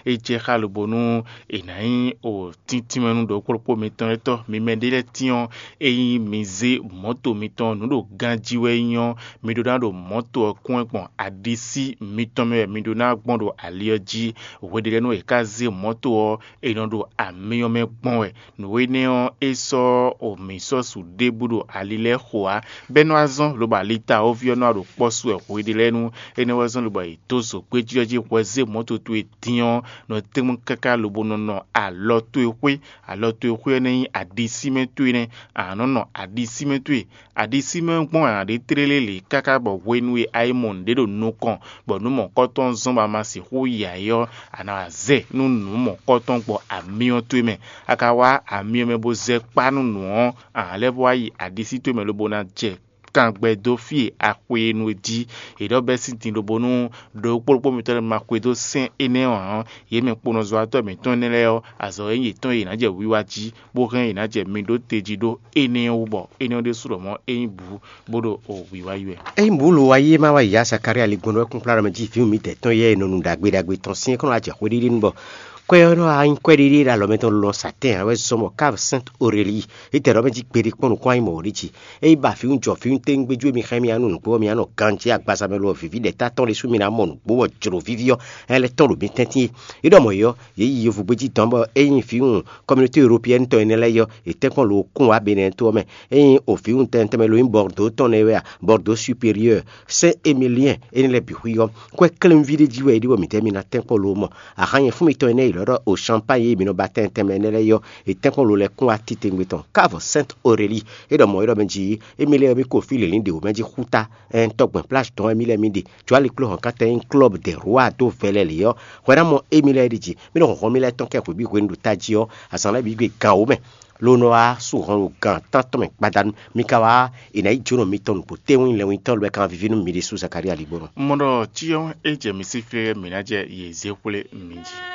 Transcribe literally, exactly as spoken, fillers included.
É jɛ xá lobo nú è nǎ nyí o tíntímɛnú ɖokpóɖokpó mitɔn lɛ́ɛ tɔ́. Mi mɛ ɖé lɛ́ɛ tín ɔ́, ényí mi zé mɔ̌to mitɔn nǔ ɖo ganjí wɛ é nyí ɔ́, mi ɖó ná ɖo mɔ̌to ɔ́ kún wɛ gbɔn aɖisí mitɔn mɛ wɛ mi ɖó ná gbɔn ɖo ali ɔ́ jí. Hweɖélɛ́nú e è ka zé mɔ̌to ɔ́, è nɔ ɖo amyɔ mɛ gbɔn wɛ. Nǔ énɛ́ ɔ́, é sɔ́ o mǐ sɔ́ su ɖěbǔ ɖo ali lɛ́ɛ xo ǎ, bɔ é nɔ wá zɔ́n lobo ali ta ɔ́ ví ɔ́ nɔ wá ɖo kpɔ́ su wɛ hweɖélɛ́nú. Énɛ́ wɛ zɔ́n lobo è dó zǒgbéjí ɔ́ jí hwɛ zé mɔ̌to towe dín ɔ́, nɔ tɛ́nkpɔ́n káká lobo nɔ nɔ alɔ towe xwé. Alɔ towe xwé ɔ́ nɛ́ nyí aɖisímɛ towe nɛ́. A nǎ nɔ nɔ aɖisímɛ towe. Aɖisímɛ ɔ́ gbɔn a nǎ ɖe tlélé lě káká bɔ hwenu e a yi mɔ nǔɖé ɖo nukɔn, bɔ nǔ mɔ̌kɔtɔn zɔ́n bɔ a ma sixú ya ɛ ɔ́, a nǎ wá zɛ nú nǔ mɔ̌kɔtɔn gbɔ amyɔ towe mɛ. A ka wá amyɔ mɛ bó zɛ kpá nú nǔ ɔ́, a nǎ lɛ́ vɔ wá yi aɖisí towe mɛ lobo ná jɛ kangbɛ dó fí e a xwe e nu é jí. È ɖɔ bɛ́ sín din lobo nú ɖokpóɖokpó mitɔn lɛ́ɛ ma xwedó sɛ́n énɛ́ ɔ́ ǎ. Yě mɛ kponɔzɔ́watɔ́ mǐtɔn énɛ́ lɛ́ɛ ɔ́, azɔ̌ e nyí yětɔn e yě ná jɛ wiwa jí, bó hɛn yě ná jɛ mi ɖó te jí ɖó énɛ́ ɔ́ wú, bɔ énɛ́ ɔ́ ɖésú ɖɔ mɔ̌ é nyí bǔ bó ɖo o wiwa yi wɛ. Ényí bǔ lo wa yi e ma wa yi ya Zakalía ligbɔn wɛ kúnkplá ɖɔ mɛ jí vǐwun mǐdɛɛ tɔn yɛ e nɔ nu ɖagbe ɖagbe tɔn sín é kɔn nɔ wá jɛ xwé ɖiɖi nu bɔ kwɛ ɔ́ nɔ wá nyí kwɛɖiɖi ɖo alɔ mɛtɔn lɔn satɛ́n ǎ wɛ zɔ́n bɔ Káv Sɛ́nt Orelíi é tɛ ɖɔ mɛ jí gbeɖé kpɔ́n nukún ayí mɔ̌ ɖi jí. Ényí ba vǐwun jɔ vǐwun téŋgbéjú e mi xá mì nú nǔgbó ɔ́, mi ná nɔ ganjí agbaza mɛ lo ɔ́, vǐví ɖɛ̌ta tɔn ɖésú mi ná mɔ nǔgbó bɔ jlǒ víví ɔ́, é lɛ́ tɔ́n ɖo mi tɛ́ntin é. É ɖɔ mɔ̌ é ɔ́, yě yi yovogbéjí dɔn bɔ ényí vǐwun kɔminɔté Eropiyɛ́ni tɔn énɛ́ lɛ́ɛ é ɔ́, yě tɛ́nkpɔ́n lo kún wá Benɛ́ɛ to ɔ́ mɛ. Ényí o vǐwun tɛntɛn mɛ lo nyí Bɔrdó tɔn nɛ́ wɛ a, Bɔrdó Superieur, Sɛ́n Emiliɛn énɛ́ lɛ́ɛ bǐ xwí ɔ́, kwɛ́ klɛ́nví ɖé jí wɛ é ɖe bɔ mǐdɛɛ mi ná tɛ́nkpɔ́n lo mɔ. Axanyɛ fún mitɔn énɛ́ e lɔ̌ ɖɔ o Champagne e mi nɔ ba tɛntɛn mɛ énɛ́ lɛ́ɛ é ɔ́, è tɛ́nkpɔ́n lo lɛ́ kún wá titewungbe tɔn. Káv Sɛ́nt Orelíi é ɖɔ mɔ̌ é ɖɔ mɛ jí émí lɛ́ɛ ɔ́, mí ko fí lělǐn ɖě wú mɛ jí xúta, ɛn tɔgbɛn plás dɔn wɛ mí lɛ́ɛ mí ɖe. Jǒ ali kló hɔn kántɛn nyí klɔ́b dɛ Rwá dó vɛlɛ lě ɔ́, hwɛ ná mɔ émí lɛ́ɛ ɖi jí. Mí nɔ hɔn mí lɛ́ɛ tɔn kɛ hwebǐ hwenu ɖo tají ɔ́, azǎn lɛ́ɛ bǐ gbe gan wǒ mɛ. Lo nɔ wá sú hɔn ɖo gan tántɔn mɛ gbadanu. Mi ka wá è nǎ yi jónɔ mitɔn nǔgbó téwún lɛ́ngbɔ́nyitɔ́ lɛ́ɛ kan víví nú mi ɖésú Zakalía ligbɔnɔ. Mɔ ɖɔ cyɔ́n é jɛ mi sí xlé mǐ ná jɛ yě zé xwlé mi jí.